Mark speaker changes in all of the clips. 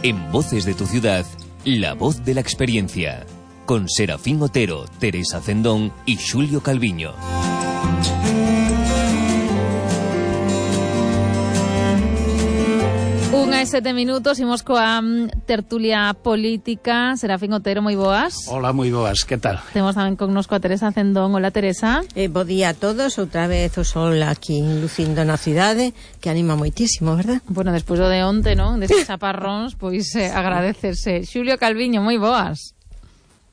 Speaker 1: En Voces de tu Ciudad, la voz de la experiencia. Con Serafín Otero, Teresa Cendón y Xulio Calviño.
Speaker 2: Unha e 7 minutos, imos coa tertulia política. Serafín Otero, moi boas.
Speaker 3: Hola, moi boas, que tal?
Speaker 2: Temos tamén connosco a Teresa Cendón. Hola, Teresa.
Speaker 4: Bo día a todos, outra vez o sol aquí lucindo na cidade, que anima moitísimo, verdad?
Speaker 2: Bueno, despois do de onte, non? Destes chaparróns, pois agradecerse. Xulio Calviño, moi boas.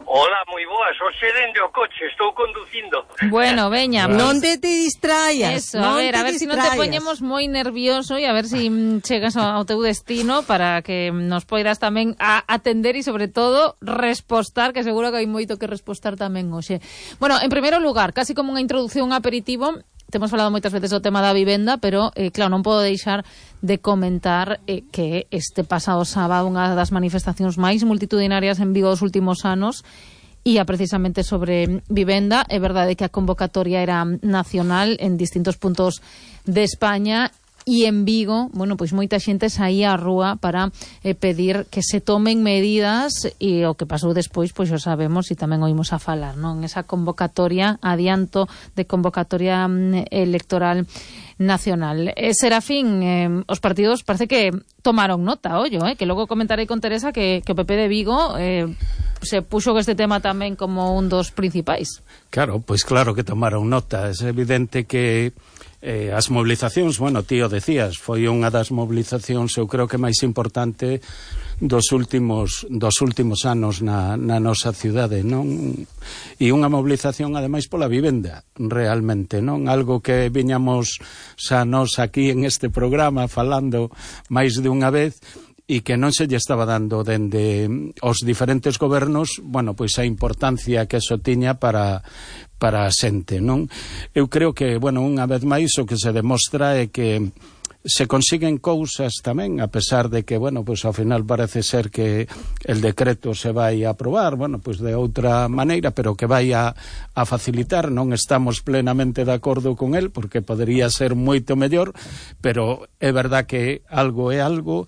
Speaker 5: Hola, moi boas, hoxe dende o coche, estou conducindo.
Speaker 2: Bueno, veña,
Speaker 4: non te distraias.
Speaker 2: Eso, a ver si non te poñemos moi nervioso e a ver si chegas ao teu destino para que nos poidas tamén a atender e sobre todo respostar, que seguro que hai moito que respostar tamén hoxe. Bueno, en primeiro lugar, casi como unha introducción, un aperitivo. Temos falado moitas veces do tema da vivenda, pero, claro, non podo deixar de comentar que este pasado sábado unha das manifestacións máis multitudinarias en Vigo dos últimos anos ia precisamente sobre vivenda. É verdade que a convocatoria era nacional en distintos puntos de España e en Vigo, bueno, pois moita xente saía á rúa para pedir que se tomen medidas, e o que pasou despois, pois o sabemos e tamén oímos a falar, non? Esa convocatoria, adianto de convocatoria electoral nacional. Serafín, os partidos parece que tomaron nota, ollo, que logo comentarei con Teresa que o PP de Vigo se puxo que este tema tamén como un dos principais.
Speaker 3: Claro, pois claro que tomaron nota. É evidente que as mobilizacións, bueno, ti o decías, foi unha das mobilizacións, eu creo que máis importante dos últimos anos na nosa cidade, non? E unha mobilización ademais pola vivenda, realmente, non? Algo que viñamos xa nós aquí en este programa falando máis de unha vez, e que non se lle estaba dando dende os diferentes gobernos, bueno, pois a importancia que eso tiña para a xente, non? Eu creo que, bueno, unha vez máis o que se demostra é que se consiguen cousas tamén, a pesar de que, bueno, pois ao final parece ser que el decreto se vai a aprobar, bueno, pois de outra maneira, pero que vai a facilitar. Non estamos plenamente de acordo con el, porque podería ser moito mellor, pero é verdad que algo é algo,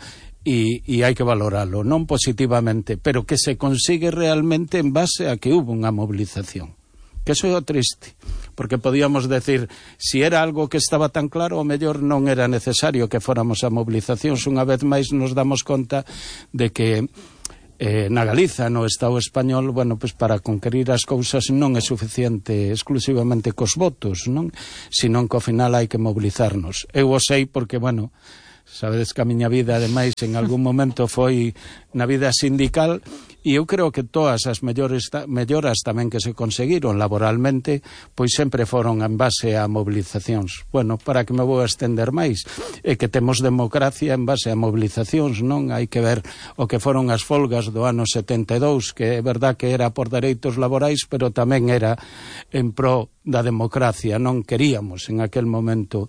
Speaker 3: e hai que valoralo, non positivamente, pero que se consigue realmente en base a que hubo unha movilización. Que eso é o triste, porque podíamos decir, si era algo que estaba tan claro, o mellor non era necesario que fóramos a movilizacións. Unha vez máis nos damos conta de que na Galiza, no Estado español, bueno, pois para conquerir as cousas non é suficiente exclusivamente cos votos, non? Senón que ao final hai que mobilizarnos. Eu o sei porque, bueno, sabedes que a miña vida, ademais, en algún momento foi na vida sindical, e eu creo que todas as melloras tamén que se conseguiron laboralmente, pois sempre foron en base a mobilizacións. Bueno, para que me vou a estender máis, é que temos democracia en base a mobilizacións, non? Hai que ver o que foron as folgas do ano 72, que é verdad que era por dereitos laborais, pero tamén era en pro da democracia. Non queríamos en aquel momento,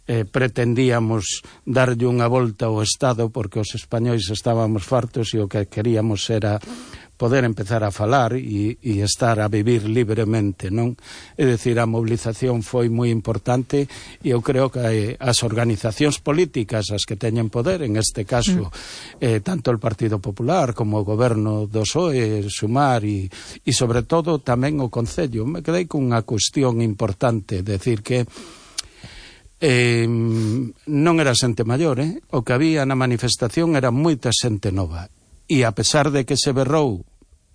Speaker 3: pretendíamos darlle unha volta ao Estado, porque os españois estábamos fartos e o que queríamos era poder empezar a falar e estar a vivir libremente, non? É dicir, a mobilización foi moi importante, e eu creo que as organizacións políticas, as que teñen poder, en este caso tanto o Partido Popular como o goberno do PSOE, Sumar e sobre todo tamén o Concello. Me quedei con unha cuestión importante, decir que non era xente maior, o que había na manifestación era moita xente nova, e a pesar de que se berrou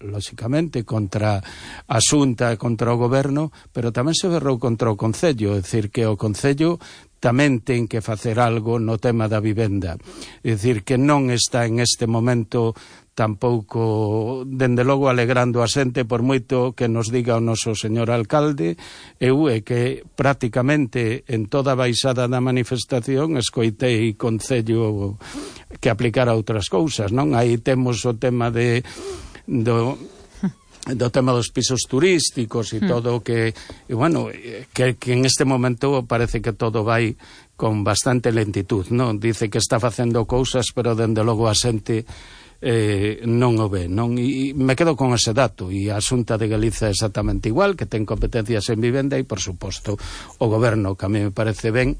Speaker 3: lóxicamente contra a Xunta e contra o goberno, pero tamén se berrou contra o Concello, é dicir que o Concello tamén ten que facer algo no tema da vivenda, é dicir que non está en este momento tampouco, dende logo, alegrando a xente, por moito que nos diga o noso señor alcalde. Eu é que prácticamente en toda a baixada da manifestación escoitei Concello que aplicara outras cousas, non? Aí temos o tema do tema dos pisos turísticos e todo o que, e bueno, que en este momento parece que todo vai con bastante lentitud, non? Dice que está facendo cousas, pero dende logo a xente non o ve, non? E me quedo con ese dato, e a Xunta de Galiza é exactamente igual, que ten competencias en vivenda, e por suposto o goberno, que a mí me parece ben,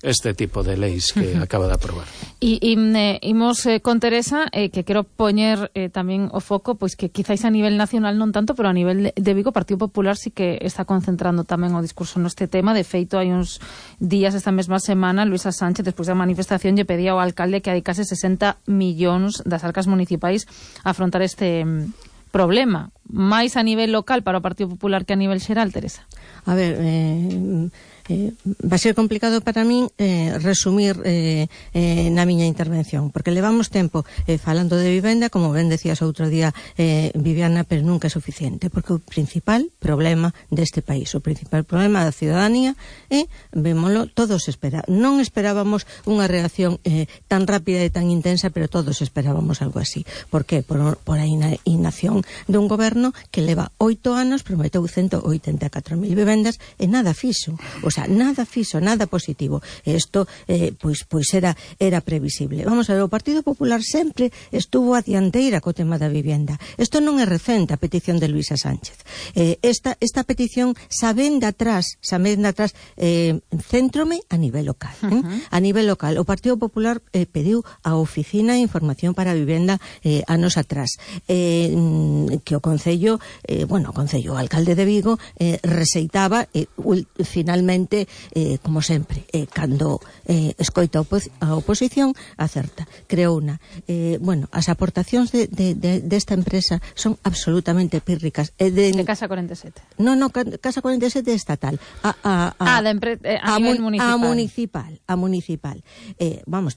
Speaker 3: este tipo de leis que acaba de aprobar.
Speaker 2: Imos con Teresa, que quero poñer tamén o foco, pois que quizáis a nivel nacional non tanto, pero a nivel de Vigo, o Partido Popular sí que está concentrando tamén o discurso neste tema. De feito, hai uns días, esta mesma semana, Luisa Sánchez, despois da manifestación, lle pedía ao alcalde que dedicase 60 millóns das arcas municipais a afrontar este problema. Máis a nivel local para o Partido Popular que a nivel xeral, Teresa?
Speaker 4: A ver, vai ser complicado para min resumir na miña intervención, porque levamos tempo falando de vivenda, como ben decías outro día, Viviana, pero nunca é suficiente, porque o principal problema deste país, o principal problema da ciudadanía vémolo, todos non esperábamos unha reacción tan rápida e tan intensa, pero todos esperábamos algo así. Por que? Por a inacción dun goberno que leva 8 anos, prometeu 184.000 vivendas e nada fixo, o sea, nada fixo, nada positivo. Isto pois era previsible. Vamos a ver, o Partido Popular sempre estuvo a dianteira co tema da vivenda. Isto non é recente, a petición de Luisa Sánchez. Esta petición xa ven de atrás, céntrome a nivel local. A nivel local, o Partido Popular pediu a Oficina de Información para a Vivenda anos atrás, que o Concello, o alcalde de Vigo rexeitaba, finalmente, como sempre, cando escoita a oposición, acerta. Creouna. As aportacións desta empresa son absolutamente pírricas.
Speaker 2: De Casa 47.
Speaker 4: No, Casa 47 é estatal.
Speaker 2: A nivel municipal.
Speaker 4: A municipal.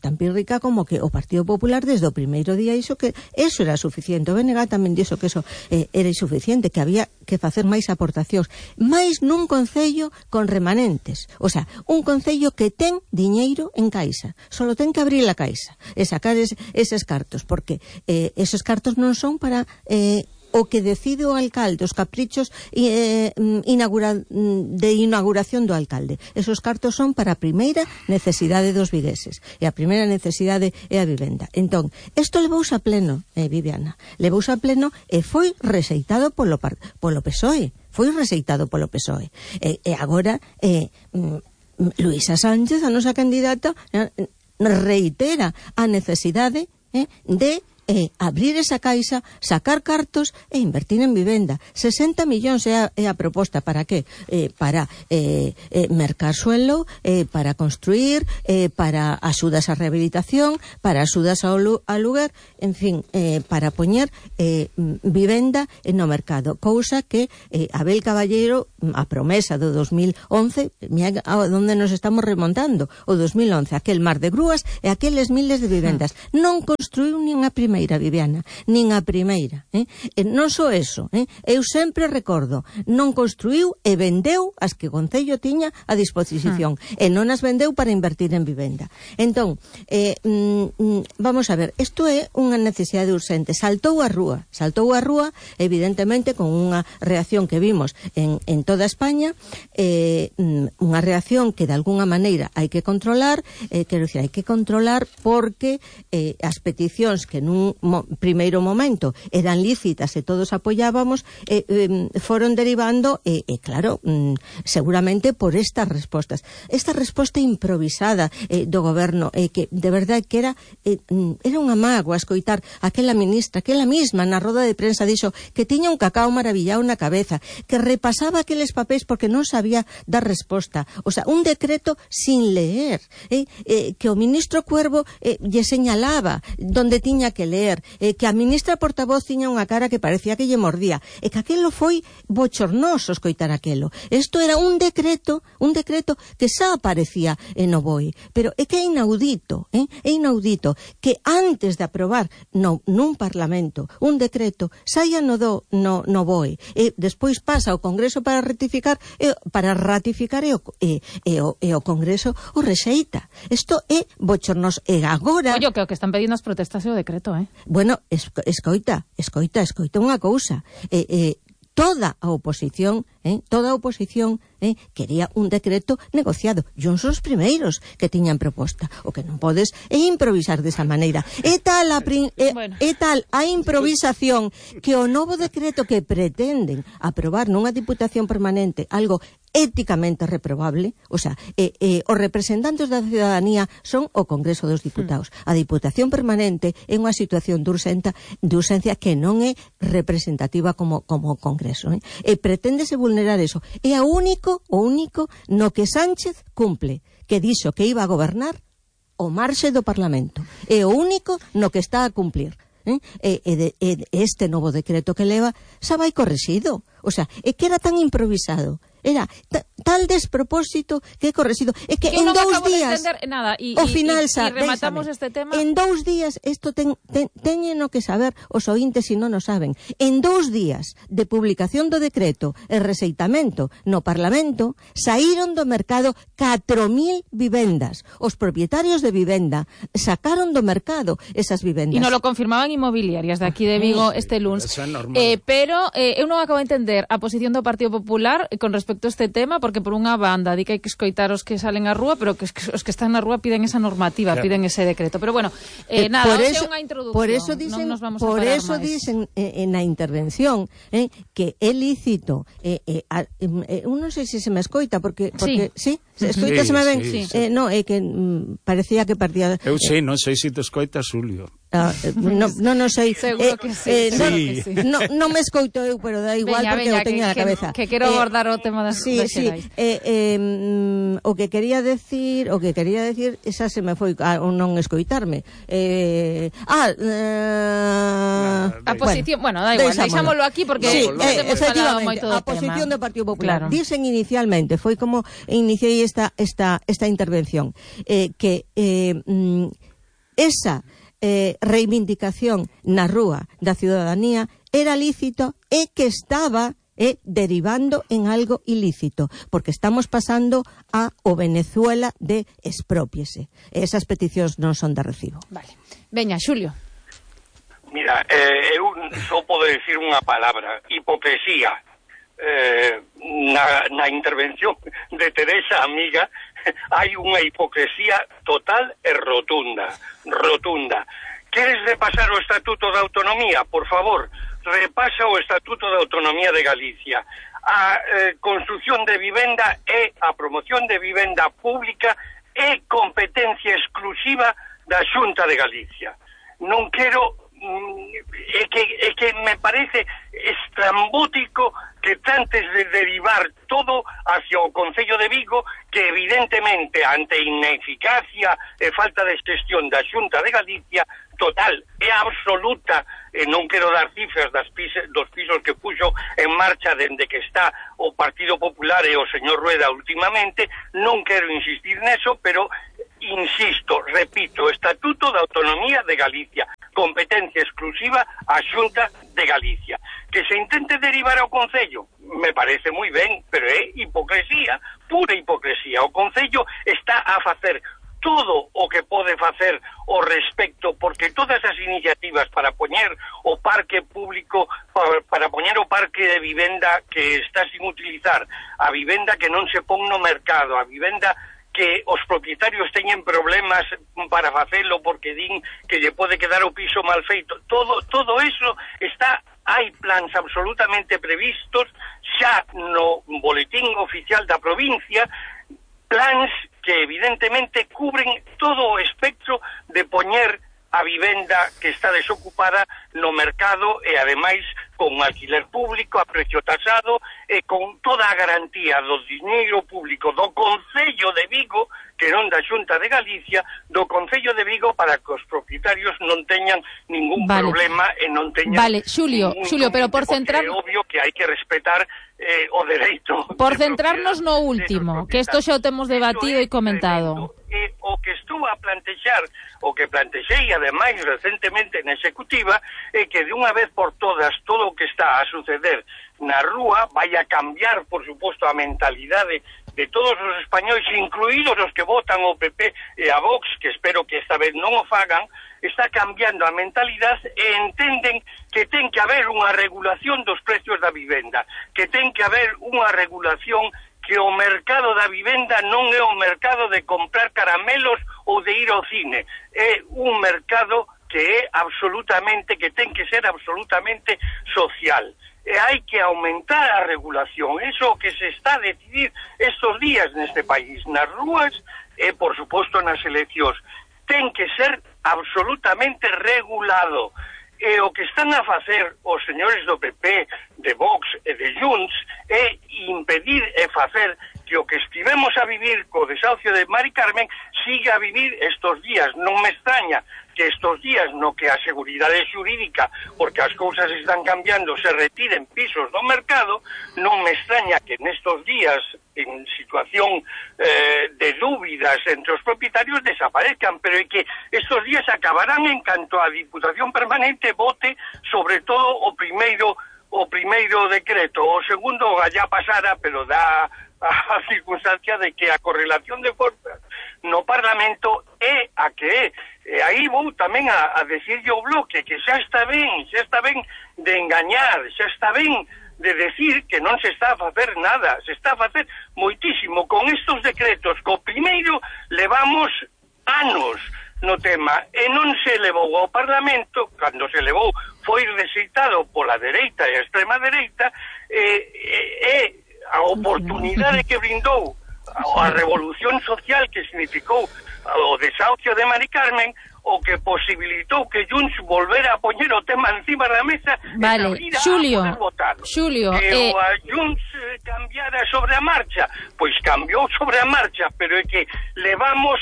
Speaker 4: Tan pírrica como que o Partido Popular desde o primeiro día iso que eso era suficiente. O BNG tamén dixo que eso era insuficiente, que había que facer máis aportacións. Mais nun concello con remanentes. O sea, un concello que ten diñeiro en caixa. Solo ten que abrir a caixa e sacar eses cartos, porque esos cartos non son para o que decide o alcalde, os caprichos de inauguración do alcalde. Esos cartos son para a primeira necesidade dos vigueses, e a primeira necesidade é a vivenda. Entón, isto levouse a pleno, Viviana, levouse a pleno e foi rexeitado polo PSOE. Foi rexeitado polo PSOE. E agora Luisa Sánchez, a nosa candidata, reitera a necesidade de abrir esa caixa, sacar cartos e invertir en vivenda. 60 millóns é a proposta. Para que? Para mercar suelo, para construir, para axudas á rehabilitación, para axudas ao lugar, en fin, para poñer vivenda no mercado. Cousa que Abel Caballero, a promesa do 2011, mira onde nos estamos remontando, o 2011, aquel mar de grúas e aqueles miles de vivendas. Non construiu nin a primeira, Viviana, nin a primeira. Non só eso, eu sempre recordo, non construiu e vendeu as que o Concello tiña a disposición, e non as vendeu para invertir en vivenda. Entón, vamos a ver, isto é unha necesidade urxente. Saltou a rúa, evidentemente, con unha reacción que vimos en toda España, unha reacción que de alguna maneira hai que controlar, quero dicir, hai que controlar porque as peticións que nun primeiro momento eran lícitas e todos apoiábamos, foron derivando, claro, seguramente por estas respostas. Esta resposta improvisada do goberno, que de verdade que era unha mágoa escoitar aquela ministra, aquela mesma na roda de prensa dixo que tiña un cacao maravillado na cabeza, que repasaba aqueles papéis porque non sabía dar resposta. O sea, un decreto sin leer, que o ministro Cuervo lle señalaba donde tiña que leer, que a ministra portavoz tiña unha cara que parecía que lle mordía, e que aquelo foi bochornoso escoitar aquelo. Isto era un decreto que xa aparecía no BOE, pero é que é inaudito que antes de aprobar nun Parlamento un decreto saia no BOE e despois pasa ao Congreso para ratificar e o Congreso o rexeita. Isto é bochornoso. E agora...
Speaker 2: Oye, que o que están pedindo as protestas é o decreto,
Speaker 4: Bueno, escoita unha cousa. Toda a oposición quería un decreto negociado. E uns os primeiros que tiñan proposta. O que non podes é improvisar desa maneira. É tal a improvisación que o novo decreto que pretenden aprobar nunha diputación permanente, algo éticamente reprobable, o sea, os representantes da ciudadanía son o Congreso dos Diputados. A Diputación Permanente é unha situación de urxencia que non é representativa como Congreso, e preténdese vulnerar eso. É o único no que Sánchez cumple, que dixo que iba a gobernar o marxe do Parlamento. É o único no que está a cumplir. Este novo decreto que leva xa vai correxido. O sea, é que era tan improvisado, era tal despropósito que é correxido. É que en 2 días
Speaker 2: nada,
Speaker 4: ao final
Speaker 2: e rematamos este tema.
Speaker 4: En 2 días isto teñeno que saber os ointes se non o saben. En 2 días de publicación do decreto e receitamento no Parlamento saíron do mercado 4.000 vivendas. Os propietarios de vivenda sacaron do mercado esas vivendas.
Speaker 2: E non lo confirmaban inmobiliarias de aquí de Vigo este lunes. Pero eu non acabo de entender a posición do Partido Popular con respecto a este tema, porque por unha banda di que hai que escoitar os que salen á rúa, pero que os que están na rúa piden esa normativa, claro, piden ese decreto. Pero bueno, nada, é unha introducción.
Speaker 4: Por eso dicen, non nos vamos a parar máis. Por eso dicen na intervención que é lícito, non sei se me escoita, porque sí, escoita, se me ven. Sí. No, é que parecía que partía.
Speaker 3: Eu sei, non sei se te escoita, Xulio.
Speaker 4: Non sei.
Speaker 2: Seguro que sí.
Speaker 4: Non me escoito eu, pero da igual, porque eu teño na cabeza.
Speaker 2: Que quero abordar o tema das xerais.
Speaker 4: O que quería decir, esa se me foi non escoitarme.
Speaker 2: A posición, bueno, da igual, deixámoslo aquí porque
Speaker 4: efectivamente, a posición do Partido Popular. Claro. Dicen inicialmente, foi como iniciei esta intervención, que esa reivindicación na rúa da ciudadanía era lícito e que estaba derivando en algo ilícito, porque estamos pasando o Venezuela de expropiese. Esas peticións non son de recibo.
Speaker 2: Vale. Veña, Xulio.
Speaker 5: Mira, eu só podo decir unha palabra: hipocresía. Na intervención de Teresa, amiga, hai unha hipocresía total e rotunda. Queres repasar o Estatuto da Autonomía? Por favor, repasa o Estatuto da Autonomía de Galicia. A construción de vivenda e a promoción de vivenda pública é competencia exclusiva da Xunta de Galicia. Non quero... É que me parece estrambótico que antes de derivar todo hacia o Concello de Vigo, que evidentemente ante ineficacia e falta de xestión da Xunta de Galicia total e absoluta, non quero dar cifras dos pisos que puxo en marcha dende que está o Partido Popular e o señor Rueda últimamente, non quero insistir neso, pero insisto, repito, Estatuto da Autonomía de Galicia, competencia exclusiva a Xunta de Galicia. Que se intente derivar ao Concello, me parece moi ben, pero é hipocresía, pura hipocresía. O Concello está a facer todo o que pode facer ao respecto, porque todas as iniciativas para poñer o parque público, para poñer o parque de vivenda que está sin utilizar, a vivenda que non se pon no mercado, a vivenda que os propietarios teñen problemas para facelo porque din que lle pode quedar o piso mal feito. Todo eso está, hai plans absolutamente previstos xa no boletín oficial da provincia, plans que evidentemente cubren todo o espectro de poñer a vivenda que está desocupada no mercado e ademais con alquiler público a precio tasado e con toda a garantía do diñeiro público do Concello de Vigo, que non da Xunta de Galicia, do Concello de Vigo, para que os propietarios non teñan ningún problema e non teñan...
Speaker 2: Vale, Xulio, pero por centrar...
Speaker 5: É obvio que hai que respetar o dereito...
Speaker 2: Por centrarnos no último, que isto xa o temos debatido e comentado.
Speaker 5: O que estou a plantexar, o que plantexei ademais recentemente na executiva, é que de unha vez por todas todo o que está a suceder na rúa vai a cambiar, por suposto, a mentalidade de todos os españois, incluídos os que votan o PP e a Vox, que espero que esta vez non o fagan. Está cambiando a mentalidade e entenden que ten que haber unha regulación dos precios da vivenda, que ten que haber unha regulación, que o mercado da vivenda non é o mercado de comprar caramelos ou de ir ao cine, é un mercado que é absolutamente, que ten que ser absolutamente social. e hai que aumentar a regulación. Eso que se está a decidir estos días neste país, nas rúas e, por suposto, nas eleccións. Ten que ser absolutamente regulado. E o que están a facer os señores do PP, de Vox e de Junts é impedir e facer que o que estivemos a vivir co desahucio de Mari Carmen siga a vivir estos días. Non me extraña que estos días no que a seguridade xurídica, porque as cousas están cambiando, se retiren pisos do mercado, non me extraña que nestos días, en situación de dúbidas entre os propietarios, desaparezcan, pero é que estos días acabarán en canto a Diputación Permanente vote sobre todo o primeiro decreto. O segundo ya pasara, pero dá a circunstancia de que a correlación de forzas no Parlamento é a que é. E aí vou tamén a decirlle ao Bloque que xa está ben de engañar, xa está ben de decir que non se está a facer nada, se está a facer moitísimo con estos decretos. Co primeiro levamos anos no tema e non se levou ao Parlamento. Cando se levou foi rexeitado pola dereita e a extrema dereita, a oportunidade que brindou a revolución social que significou o desahucio de Mari Carmen, o que posibilitou que Junts volvera a poñer o tema encima da mesa.
Speaker 2: Vale, Xulio,
Speaker 5: e a Junts cambiara sobre a marcha, pois cambiou sobre a marcha, pero é que levamos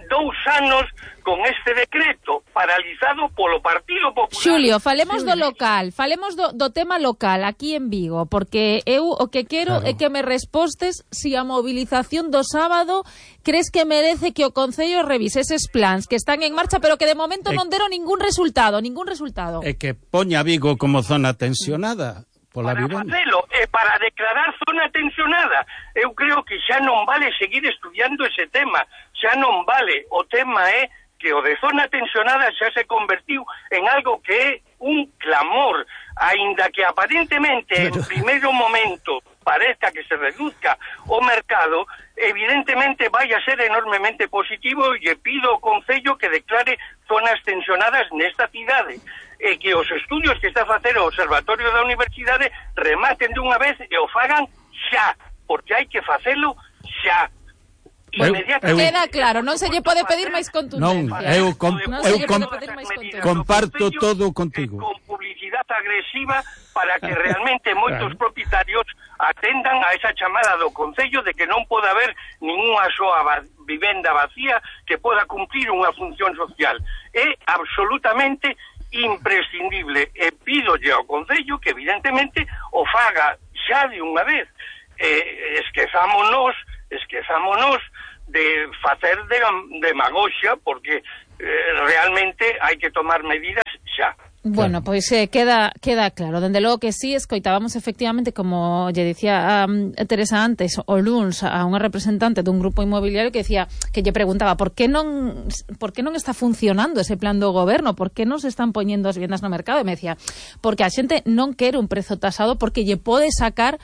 Speaker 5: 2 anos con este decreto paralizado polo Partido Popular.
Speaker 2: Xulio, falemos do local, falemos do tema local aquí en Vigo, porque eu o que quero é que me respostes si a movilización do sábado crees que merece que o Concello revise eses plans que están en marcha, pero que de momento non deron ningún resultado.
Speaker 3: É que poña Vigo como zona tensionada.
Speaker 5: Para facelo e para declarar zona tensionada. Eu creo que xa non vale seguir estudiando ese tema, xa non vale. O tema é que o de zona tensionada xa se convertiu en algo que é un clamor, aínda que aparentemente en primeiro momento parezca que se reduzca o mercado, evidentemente vai a ser enormemente positivo e pido ao Concello que declare zonas tensionadas nesta cidade e que os estudios que está a facer o Observatorio da Universidade rematen dunha vez e o fagan xa, porque hai que facelo xa.
Speaker 2: Queda claro, non se lle pode pedir máis contundencia.
Speaker 3: Eu comparto todo contigo.
Speaker 5: Con publicidade agresiva para que realmente moitos propietarios atendan a esa chamada do Concello de que non pode haber ninguna soa vivenda vacía que poda cumplir unha función social. É absolutamente imprescindible e pídolle ao Concello que evidentemente o faga xa de unha vez. Esquezámonos de facer demagoxia, porque realmente hai que tomar medidas xa.
Speaker 2: Bueno, pois queda claro. Dende logo que sí, escoitábamos efectivamente, como lle dicía Teresa antes, o luns a unha representante dun grupo inmobiliario que decía, que lle preguntaba por que non está funcionando ese plan do goberno, por que non se están poñendo as vivendas no mercado, e me decía, porque a xente non quere un prezo tasado porque lle pode sacar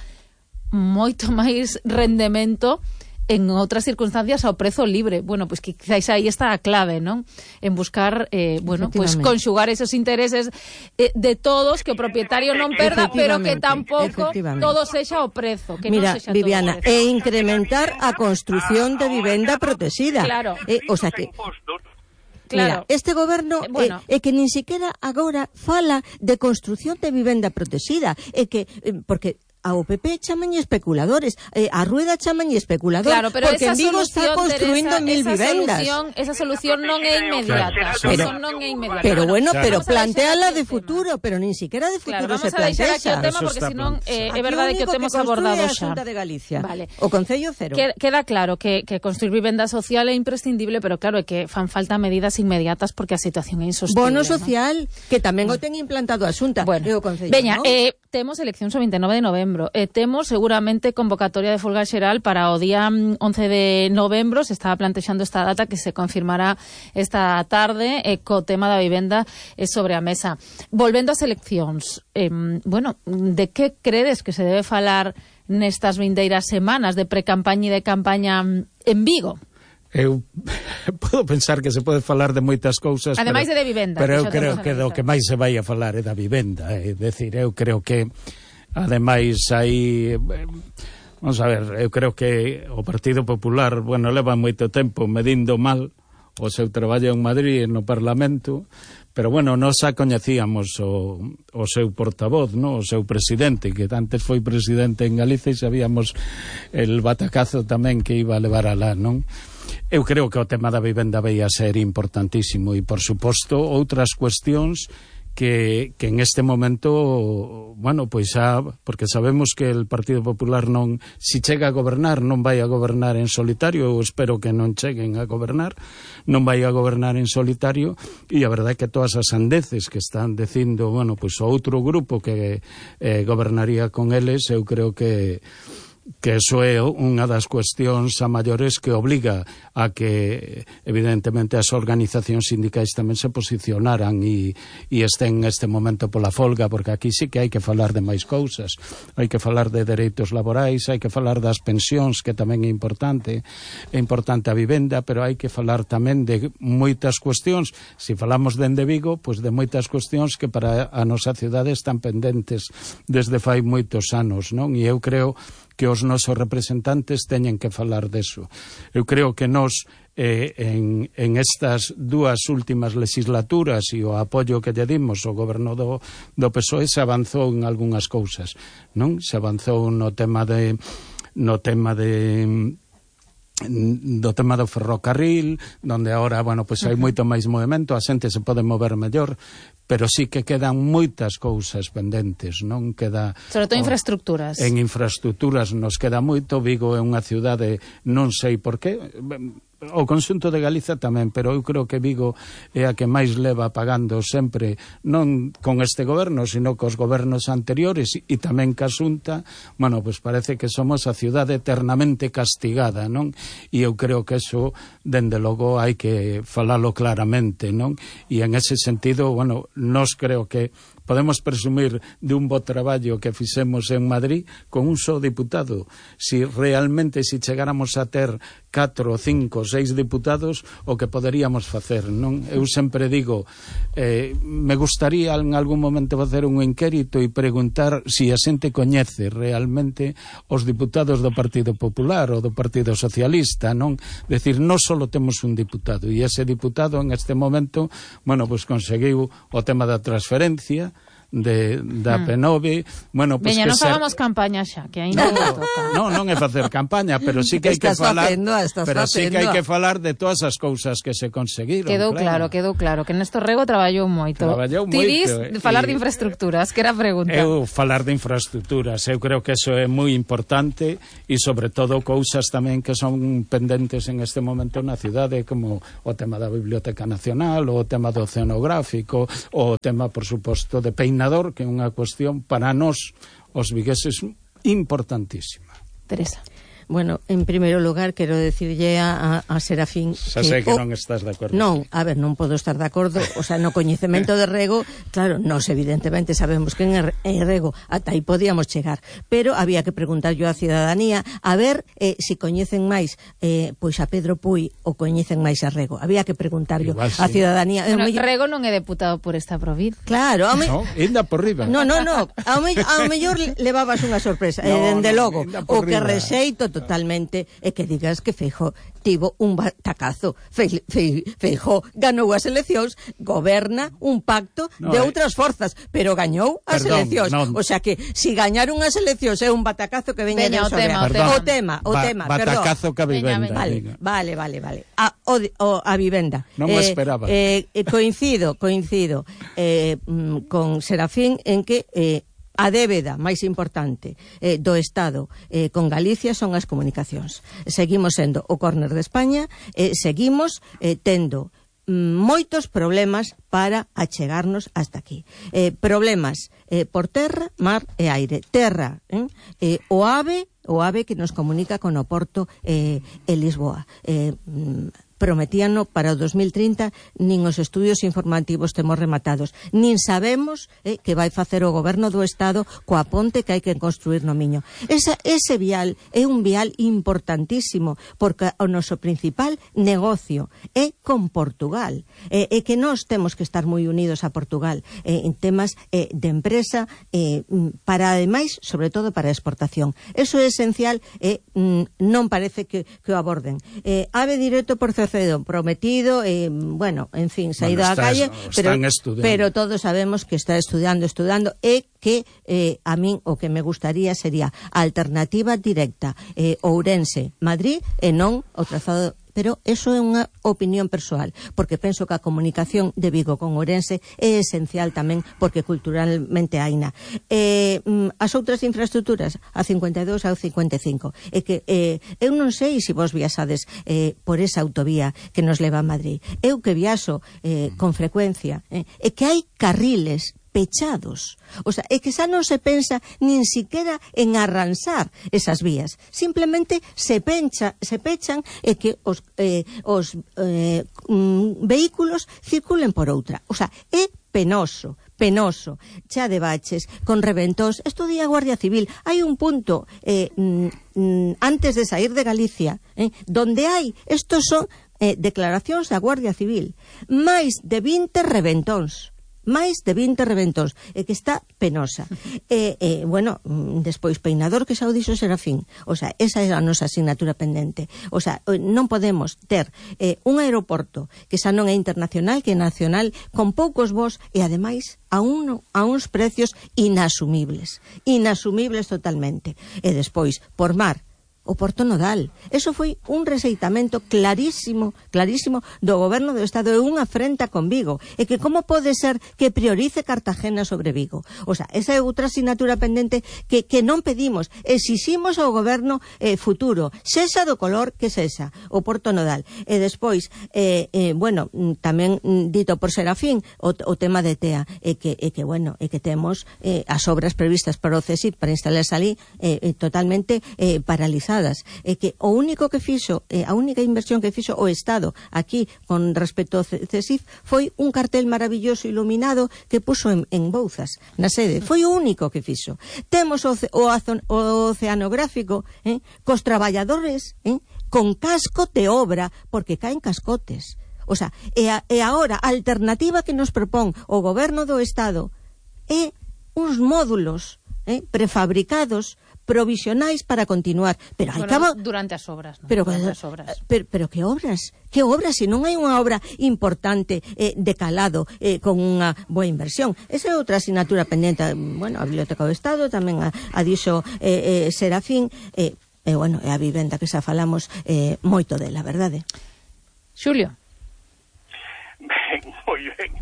Speaker 2: moito máis rendemento en outras circunstancias ao prezo libre. Bueno, pois que quizás aí está a clave, non? En buscar, pois conxugar esos intereses de todos, que o propietario non perda, pero que tampouco todo sexa o prezo, que
Speaker 4: mira,
Speaker 2: non sexa
Speaker 4: Viviana,
Speaker 2: todo o prezo.
Speaker 4: E incrementar a construción de vivenda protegida.
Speaker 2: Claro.
Speaker 4: O sea que
Speaker 2: Claro.
Speaker 4: Mira, este goberno é que nin siquiera agora fala de construción de vivenda protegida, é que porque ao PP chaman especuladores, a Rueda chaman especulador,
Speaker 2: claro, pero
Speaker 4: porque en Vigo está construindo 1000 vivendas.
Speaker 2: Esa solución non é inmediata.
Speaker 4: Pero bueno, pero planteala de futuro, pero nin siquiera de futuro se plantea esa.
Speaker 2: Tema, porque senón é verdade que o temos abordado xa.
Speaker 4: De Galicia.
Speaker 2: Vale.
Speaker 4: O Concello cero.
Speaker 2: Queda claro que construir vivenda social é imprescindible, pero claro, é que fan falta medidas inmediatas porque a situación é insostible.
Speaker 4: Bono social, que tamén o ten implantado a Xunta.
Speaker 2: Bueno,
Speaker 4: o Concello,
Speaker 2: veña,
Speaker 4: ¿no?
Speaker 2: Temos eleccións o 29 de novembro. Temos seguramente convocatoria de folga xeral para o día 11 de novembro. Se estaba plantexando esta data que se confirmará esta tarde co tema da vivenda sobre a mesa. Volvendo ás eleccións, de que credes que se debe falar nestas vindeiras semanas de precampaña e de campaña en Vigo?
Speaker 3: Eu podo pensar que se pode falar de moitas cousas,
Speaker 2: ademais de vivenda,
Speaker 3: pero eu creo que do que máis se vai a falar é da vivenda, é dicir, eu creo que Ademais, aí... Vamos a ver, eu creo que o Partido Popular, bueno, leva moito tempo medindo mal o seu traballo en Madrid no Parlamento, pero bueno, nós xa coñecíamos o seu portavoz, no? O seu presidente, que antes foi presidente en Galicia, e sabíamos el batacazo tamén que iba a levar alá, non? Eu creo que o tema da vivenda vai a ser importantísimo e, por suposto, outras cuestións que en este momento, bueno, pois xa, porque sabemos que el Partido Popular non, si chega a gobernar, non vai a gobernar en solitario, eu espero que non cheguen a gobernar, non vai a gobernar en solitario, e a verdade é que todas as sandeces que están dicindo, bueno, pois o outro grupo que gobernaría con eles, eu creo que eso é unha das cuestións a maiores que obliga a que evidentemente as organizacións sindicais tamén se posicionaran e estén neste momento pola folga, porque aquí sí que hai que falar de máis cousas, hai que falar de dereitos laborais, hai que falar das pensións, que tamén é importante a vivenda, pero hai que falar tamén de moitas cuestións. Se falamos dende Vigo, pois de moitas cuestións que para a nosa cidade están pendentes desde fai moitos anos, non? E eu creo que os nosos representantes teñen que falar deso. Eu creo que nós en estas dúas últimas legislaturas e o apoio que lle dimos ao goberno do PSOE se avanzou en algunhas cousas, non? Se avanzou no tema do ferrocarril, donde ahora, bueno, pues hai moito máis movimento, a xente se pode mover mellor, pero sí que quedan moitas cousas pendentes, non? Queda...
Speaker 2: Sobre todo infraestructuras.
Speaker 3: En infraestructuras nos queda moito. Vigo é unha cidade, non sei por qué, o conxunto de Galiza tamén, pero eu creo que Vigo é a que máis leva pagando sempre, non con este goberno, sino cos gobernos anteriores e tamén ca Xunta. Bueno, pues parece que somos a cidade eternamente castigada, non? E eu creo que eso, dende logo, hai que falalo claramente, non? E en ese sentido, bueno, nós creo que podemos presumir de un bo traballo que fixemos en Madrid con un só diputado. Si realmente, si chegáramos a ter 4, 5, 6 diputados, o que poderíamos facer, non? Eu sempre digo, me gustaría en algún momento facer un inquérito e preguntar si a xente coñece realmente os diputados do Partido Popular ou do Partido Socialista, non? Decir, non só temos un diputado, e ese diputado en este momento, bueno, pues conseguiu o tema da transferencia da P9, bueno, pues
Speaker 2: veña,
Speaker 3: que
Speaker 2: non fagamos campaña xa, que aí
Speaker 3: non toca. Non é facer campaña, pero sí que hai que falar, sí que hai que falar de todas as cousas que se conseguiron.
Speaker 2: Quedou claro, que Néstor Rego traballou moito. Ti dis falar de infraestructuras, que era a pregunta.
Speaker 3: Eu falar de infraestructuras, eu creo que eso é moi importante e sobre todo cousas tamén que son pendentes en este momento na cidade, como o tema da Biblioteca Nacional, o tema do oceanográfico, o tema, por suposto, de Peinador, que é unha cuestión para nós, os vigueses, importantísima.
Speaker 2: Teresa.
Speaker 4: Bueno, en primeiro lugar, quero decirlle a Serafín
Speaker 3: xa sei que non estás de acordo.
Speaker 4: Non, a ver, non podo estar de acordo. O sea, no coñecemento de Rego, claro, nós evidentemente sabemos que en Rego ata aí podíamos chegar, pero había que preguntar yo á cidadanía a ver si coñecen máis pois a Pedro Puy ou coñecen máis a Rego. Había que preguntar yo á cidadanía.
Speaker 2: Bueno, Rego non é deputado por esta provincia.
Speaker 4: Claro,
Speaker 3: no, enda por riba.
Speaker 4: No, ao mellor levabas unha sorpresa, dende logo, o que rexeito totalmente é que digas que Feijóo tivo un batacazo. Feijóo ganou as eleccións, goberna un pacto de outras forzas, pero gañou as eleccións. O sea que, si gañar unhas eleccións é un batacazo que veña de o tema,
Speaker 3: batacazo que a vivenda.
Speaker 4: Vale. A vivenda.
Speaker 3: Non me esperaba.
Speaker 4: Coincido con Serafín en que a débeda máis importante do Estado con Galicia son as comunicacións. Seguimos sendo o córner de España, seguimos tendo moitos problemas para achegarnos hasta aquí. Problemas por terra, mar e aire. Terra, o AVE que nos comunica con o Porto e Lisboa. prometíano para o 2030, nin os estudios informativos temos rematados, nin sabemos que vai facer o goberno do Estado coa ponte que hai que construir no Miño. Ese vial é un vial importantísimo, porque o noso principal negocio é con Portugal, e que nós temos que estar moi unidos a Portugal en temas de empresa, para ademais, sobre todo para a exportación. Eso é esencial e non parece que o aborden. Ave directo por Cercedo, prometido, bueno, en fin, saído á calle, pero todos sabemos que está estudiando e que a min o que me gustaría sería a alternativa directa Ourense-Madrid e non o trazado. Pero eso é unha opinión persoal, porque penso que a comunicación de Vigo con Ourense é esencial tamén, porque culturalmente haina. As outras infraestructuras, a 52 e a 55, é que eu non sei se vos viaxades por esa autovía que nos leva a Madrid. Eu que viaxo con frecuencia, é que hai carriles pechados. O sea, é que xa non se pensa nin siquiera en arransar esas vías. Simplemente se pechan e que os vehículos circulen por outra. O sea, é penoso, xa de baches, con reventóns. Esto di a Guardia Civil. Hai un punto antes de sair de Galicia, donde hai, estos son declaracións da Guardia Civil, máis de 20 reventóns, que está penosa. Bueno, despois peinador, que xa o dixo Serafín. O sea, esa é a nosa asignatura pendente. O sea, non podemos ter un aeroporto que xa non é internacional, que é nacional, con poucos voos e ademais a uns precios inasumibles totalmente. E despois, por mar, o Porto Nodal. Eso foi un rexeitamento clarísimo do goberno do Estado, e unha afrenta con Vigo. E que como pode ser que priorice Cartagena sobre Vigo? O sea, esa é outra asignatura pendente que non pedimos. Exiximos ao goberno futuro, sexa do color que sexa, o Porto Nodal. E despois, bueno, tamén dito por Serafín, o tema de TEA, e que temos as obras previstas para o CSIC, para instalarse ali, totalmente paralizadas. É que o único que fixo, a única inversión que fixo o Estado aquí con respecto ao CSIF foi un cartel maravilloso iluminado que puso en Bouzas, na sede. Foi o único que fixo. Temos o oceanográfico cos traballadores con casco de obra, porque caen cascotes. O sea, e agora a alternativa que nos propón o goberno do Estado é uns módulos prefabricados, provisionais para continuar, pero
Speaker 2: durante as obras, ¿no?
Speaker 4: Pero que obras? Que obras? Se non hai unha obra importante de calado con unha boa inversión. Esa é outra asignatura pendente. Bueno, a Biblioteca do Estado tamén a dixo Serafín, bueno, é a vivenda que xa falamos moito dela, verdade?
Speaker 2: Xulio.
Speaker 5: Moi ben.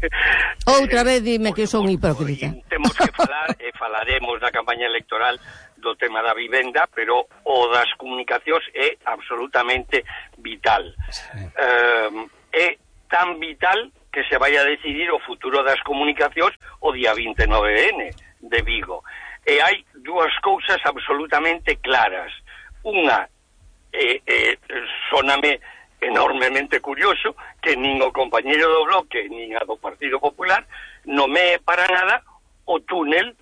Speaker 4: Outra vez dime que son hipócrita.
Speaker 5: Temos que falar e falaremos da campaña electoral do tema da vivenda, pero o das comunicacións é absolutamente vital. É tan vital que se vai a decidir o futuro das comunicacións o día 29N de Vigo. E hai dúas cousas absolutamente claras. Unha, soname enormemente curioso que nin o compañeiro do Bloque nin a do Partido Popular nomee para nada o túnel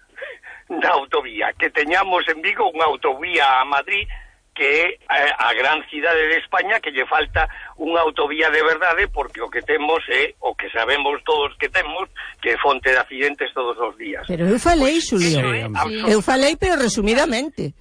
Speaker 5: da autovía, que teñamos en Vigo unha autovía a Madrid que é a gran cidade de España, que lle falta unha autovía de verdade, porque o que temos é o que sabemos todos que temos, que é fonte de accidentes todos os días.
Speaker 4: Pero eu falei, Xulio, eu falei, pero resumidamente.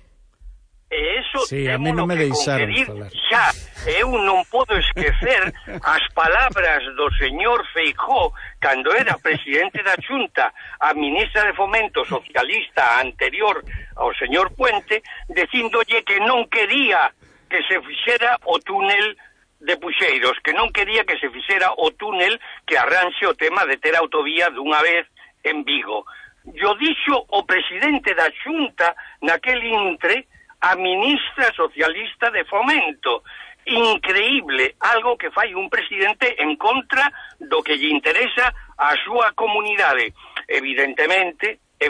Speaker 5: E eso
Speaker 3: sí, a mí non me deixaron falar.
Speaker 5: Xa, eu non podo esquecer as palabras do señor Feijóo cando era presidente da Xunta, a ministra de Fomento socialista anterior ao señor Puente, dicíndolle que non quería que se fixera o túnel de Puxeiros, que non quería que se fixera o túnel que arranxe o tema de ter autovía dunha vez en Vigo. Yo dixo o presidente da Xunta naquel intre a ministra socialista de Fomento. Increíble, algo que fai un presidente en contra do que lle interesa a súa comunidade. Evidentemente, é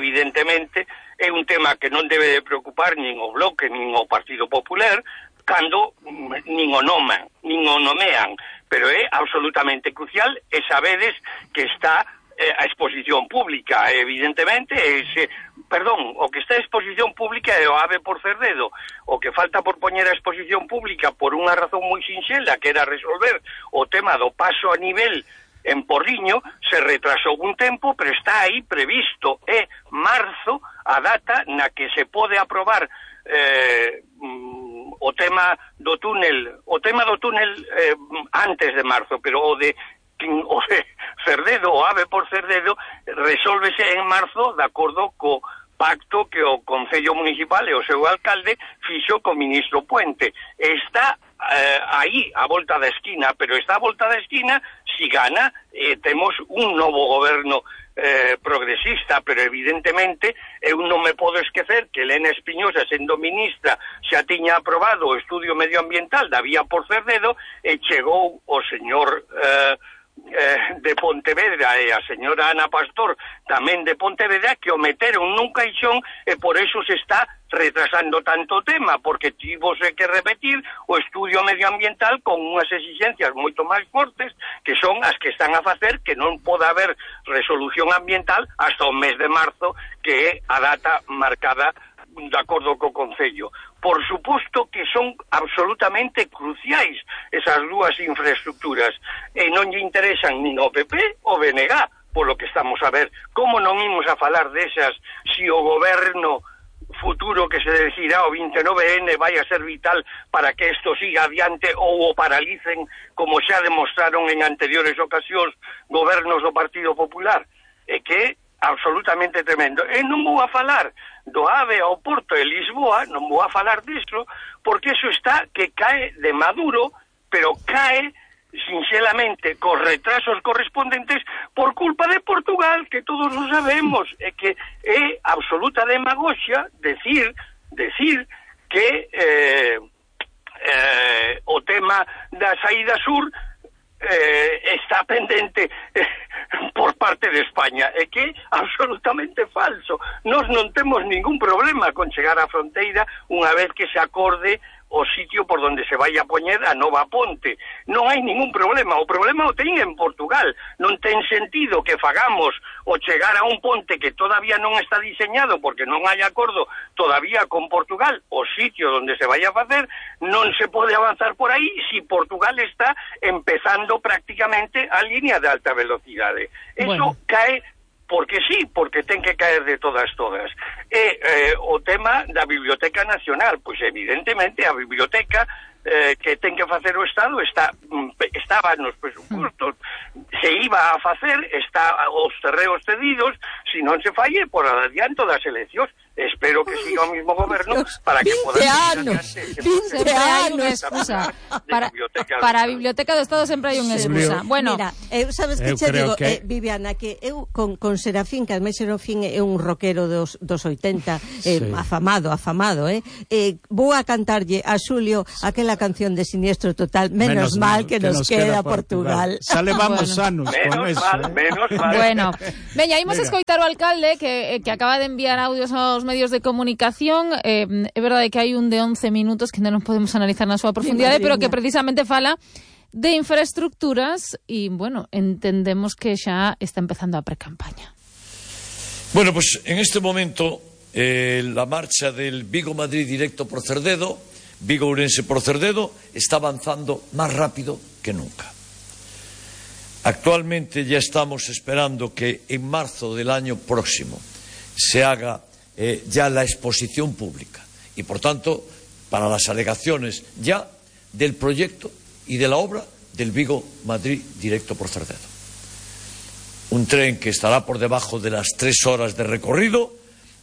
Speaker 5: un tema que non debe de preocupar nin o Bloque nin o Partido Popular, cando nin o nomean, pero é absolutamente crucial, e sabedes que está a exposición pública, evidentemente, o que está a exposición pública é o AVE por Cerdedo. O que falta por poñer a exposición pública por unha razón moi sinxela, que era resolver o tema do paso a nivel en Porriño, se retrasou un tempo, pero está aí previsto, é marzo a data na que se pode aprobar o tema do túnel antes de marzo, pero o de Cerdedo, o AVE por Cerdedo, resólvese en marzo de acordo co pacto que o Concello Municipal e o seu alcalde fixo co ministro Puente. Está aí a volta da esquina, pero está a volta da esquina si gana, temos un novo goberno progresista, pero evidentemente eu non me podo esquecer que Elena Espiñosa, sendo ministra, xa tiña aprobado o estudio medioambiental da vía por Cerdedo e chegou o señor de Pontevedra e a señora Ana Pastor tamén de Pontevedra, que o meteron nun caixón e por eso se está retrasando tanto o tema, porque tivose que repetir o estudio medioambiental con unhas exigencias moito máis fortes, que son as que están a facer que non poda haber resolución ambiental hasta o mes de marzo, que é a data marcada de acordo co Concello. Por suposto que son absolutamente cruciais esas dúas infraestructuras e non lle interesan nin ao PP ou BNG, polo que estamos a ver. Como non imos a falar desas si o goberno futuro que se decidirá o 29N vai a ser vital para que isto siga adiante ou o paralicen, como xa demostraron en anteriores ocasións gobernos do Partido Popular? É que é absolutamente tremendo. E non vou a falar do AVE ao Porto de Lisboa, non vou a falar disto, porque eso está que cae de maduro, pero cae sinxelamente cos retrasos correspondentes por culpa de Portugal, que todos o sabemos, e que é absoluta demagoxia decir que o tema da saída sur está pendente por parte de España, e que é absolutamente falso. Nós non temos ningún problema con chegar á fronteira unha vez que se acorde o sitio por donde se vai a poñer a nova ponte. Non hai ningún problema. O problema o ten en Portugal. Non ten sentido que fagamos o chegar a un ponte que todavía non está diseñado porque non hai acordo todavía con Portugal, o sitio donde se vai a facer, non se pode avanzar por aí si Portugal está empezando prácticamente a línea de alta velocidade. Eso cae porque sí, porque ten que caer de todas. E o tema da Biblioteca Nacional, pois evidentemente a biblioteca que ten que facer o Estado estaba nos presupostos, se iba a facer, está os terreos cedidos, se non se falle por adianto das eleccións. Espero que siga o mismo goberno para que poda...
Speaker 4: 20 anos.
Speaker 2: Excusa. Para a Biblioteca do Estado sempre hai unha excusa. Bueno,
Speaker 4: mira, sabes que che digo, Viviana, que eu con Serafín, que ademais Serafín é un rockero dos 80, afamado, vou a cantarlle a Xulio aquela canción de Siniestro Total, menos mal que nos queda Portugal.
Speaker 3: Xa levamos anos con eso.
Speaker 5: Menos mal.
Speaker 2: Bueno, veña, imos escoitar o alcalde que acaba de enviar audios aos medios de comunicación. É verdade que hai un de 11 minutos que non podemos analizar na súa profundidade, pero que precisamente fala de infraestructuras e, bueno, entendemos que xa está empezando a precampaña.
Speaker 6: Bueno, pues en este momento la marcha del Vigo-Madrid directo por Cerdedo, Vigo-Ourense por Cerdedo, está avanzando más rápido que nunca. Actualmente ya estamos esperando que en marzo del año próximo se haga ya la exposición pública y, por tanto, para las alegaciones ya del proyecto y de la obra del Vigo-Madrid directo por Cerdedo. Un tren que estará por debajo de las 3 horas de recorrido,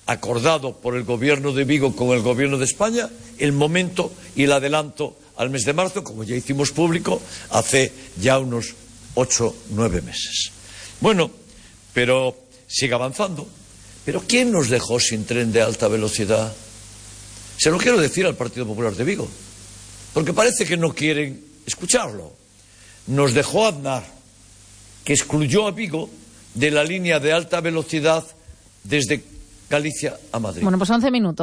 Speaker 6: acordado por el gobierno de Vigo con el gobierno de España, el momento y el adelanto al mes de marzo, como ya hicimos público hace ya unos 8 o 9 meses. Bueno, pero sigue avanzando. ¿Pero quién nos dejó sin tren de alta velocidad? Se lo quiero decir al Partido Popular de Vigo, porque parece que no quieren escucharlo. Nos dejó Aznar, que excluyó a Vigo de la línea de alta velocidad desde Galicia a Madrid.
Speaker 2: Bueno, pues 11 minutos.